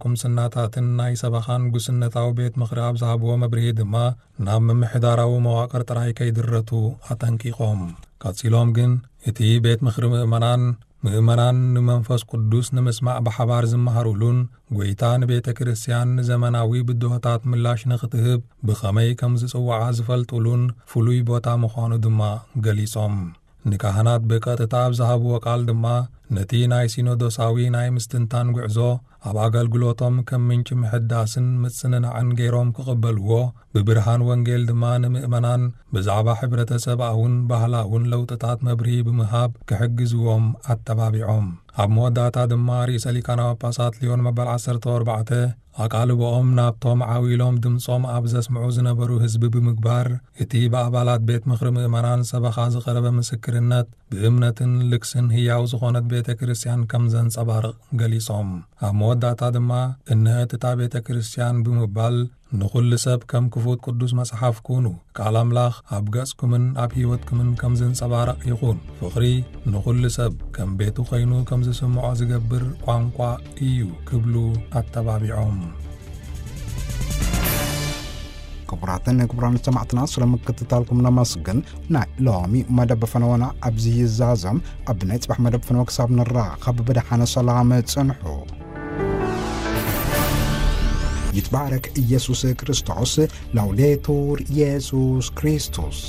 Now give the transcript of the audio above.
ቁምስናታትን ናይ ሰበኻን ጉስነታዊ ቤት ምኽሪ ኣብ ዝሃብዎ መብርሂ ድማ፣ ናብ ምምሕዳራዊ መዋቕር ጥራይ ከይድረቱ ኣጠንቂቖም። ቀጺሎም ግን፣ እቲ ቤት ምኽሪ ምእመናን፣ ምእመናን ንመንፈስ ቅዱስ ንምስማዕ ብሓባር ዝመሃሩሉን፣ ጐይታ ንቤተ ክርስቲያን ንዘመናዊ ብድሆታት ምላሽ ንኽትህብ ብኸመይ ከም ዝጽውዓ ዝፈልጡሉን ፍሉይ ቦታ ምዃኑ ድማ ገሊጾም። ንካህናት ብቀጥታ ኣብ ዝሃብዎ ቃል ድማ፣ ነቲ ናይ ሲኖዶሳዊ ናይ ምስትንታን ጉዕዞ ኣብ ኣገልግሎቶም ከም ምንጪ ምሕዳስን ምጽንናዕን ገይሮም ክቕበልዎ፣ ብብርሃን ወንጌል ድማ ንምእመናን ብዛዕባ ሕብረተሰብኣውን ባህላውን ለውጥታት መብርሂ ብምሃብ ክሕግዝዎም ኣተባቢዖም። ኣብ መወዳእታ ድማ ርእሰ ሊቃነ ጳጳሳት ሊዮን መበል ዓሰርተ ኣርባዕተ ኣቓልቦኦም ናብቶም ዓው ኢሎም ድምጾም ኣብ ዘስምዑ ዝነበሩ ህዝቢ ብምግባር፣ እቲ ብኣባላት ቤት ምኽሪ ምእመናን ሰበኻ ዝቐረበ ምስክርነት ብእምነትን ልግስን ህያው ዝኾነት ቤተ ክርስቲያን ከም ዘንጸባርቕ ገሊጾም። ኣብ መወዳእታ ድማ፣ "እንሀት እታ ቤተ ክርስቲያን" ብምባል፣ "ንኹሉ ሰብ ከም ክፉት ቅዱስ መጽሓፍ ኩኑ፣ ቃል ኣምላኽ ኣብ ገጽኩምን ኣብ ህይወትኩምን ከም ዘንጸባርቕ ይኹን። ፍቕሪ ንኹሉ ሰብ ከም ቤቱ ኾይኑ ከም ዝስምዖ ዝገብር ቋንቋ እዩ" ክብሉ ኣተባቢዖም። ክቡራትን ክቡራን ሰማዕትና፣ ስለ ምክትታልኩም ነመስግን። ናይ ሎሚ መደብ ፈነወና ኣብዚ ይዛዘም። ኣብ ናይ ጽባሕ መደብ ፈነወ ክሳብ ንራኸብ ብደሓነ ሰላም ጽንሑ። ይትባረክ ኢየሱስ ክርስቶስ። ላውዴቱር ኢየሱስ ክርስቶስ።